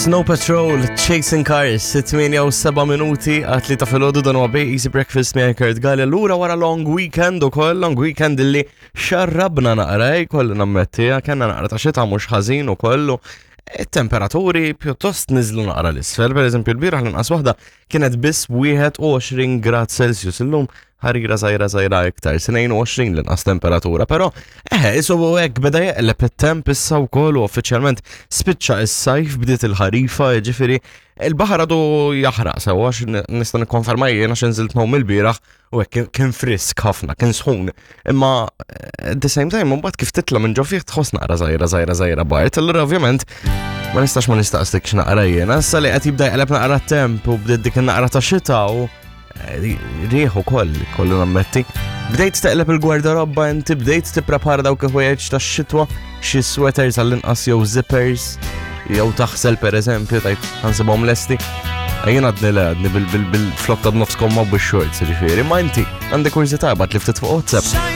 Snow Patrol, Chasing Cars, 8 u 7 minuti għat li ta' filgħodu dan huwa Bay Easy Breakfast minn Kurt Gallia. Lura wara long weekend ukoll, long weekend illi xarrabna naqra, eh, kollu nammetti, eh, kellna naqra ta' xita mhux ħażin ukoll. It-temperaturi pjuttost niżlu naqra l-isfel, per eżempju l-bieraħ l-inqas waħda kienet biss 21 grad Celsius illum ħarira żgħira żgħira iktar, 22 l-inqas temperatura, però eħe, isu hekk beda jeqleb it-temp issa wkoll u uffiċjalment spiċċa is-sajf bdiet il-ħarifa, jiġifieri il-baħar għadu jaħraq sewwa għax nista' nikkonferma jien għax inżilt ngħum il-bieraħ u hekk kien frisk ħafna, kien sħun. Imma eh, at the same time mbagħad kif titla' minn ġo fih tħoss naqra żgħira żgħira żgħira bart, allura ovvjament ma nistax ma nistaqslikx naqra jiena, issa li qed jibda jqleb naqra temp u bdiet dik naqra ta' xita u Rieħ ukoll, kollu nammetti. Bdejt teqleb il-gwardarobba inti bdejt tipprepara dawk il-ħwejjeġ tax-xitwa, xi sweaters għall-inqas jew zippers, jew taħsel pereżempju tajt ħansibhom lesti. Jien għadni le għadni bil-flotta b'nofs komma u bix-shorts, ġifieri, ma inti għandi kurżità bat li ftit fuq WhatsApp.